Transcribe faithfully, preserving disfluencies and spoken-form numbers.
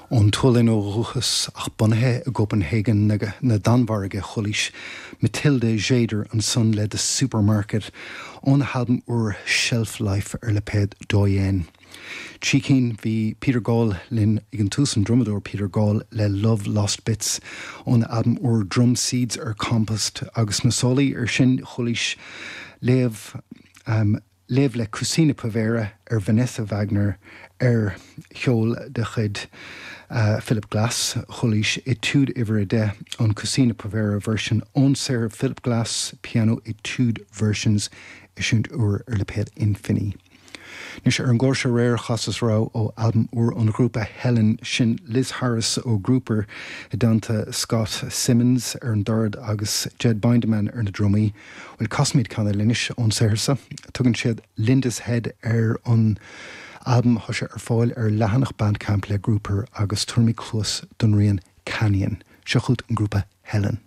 Ón tSualainn ó dhúchas ach bunaithe i gCopenhagen na, na Danmhairge chualaís Matilda Tjäder ansan le The Supermarket óna halbam úr Shelf Life ar lipéad Doyen. Trí cinn bhí Peter Gall linn ag an tús an drumadóir Peter Gall le Love Lost Bits óna albam úr Drum Seeds ar Compost agus na sólaí ar sin chualaís léamh um, léamh le Cucina Povera ar Vanessa Wagner ar cheol de chuid uh, Philip Glass chualaís Etude uimhir a deich an Cucina Povera version ón saothar Philip Glass piano etude versions eisiúint úr ar lipéad Infini. Anois ar an gclár seo aréir chasas rogha ó albam úr an ghrúpa Helen sin Liz Harris ó Grouper i dteannta Scott Simmons ar an dord agus Jed Binderman ar na drumaí, Well casfaimid ceann eile anois ón saothar seo, tugann siad Linda's Head ar an albam atá sé ar fáil ar leathanach Bandcamp le Grouper agus tabharfaimid cluas don rian Canyon, seo chugat an grúpa Helen.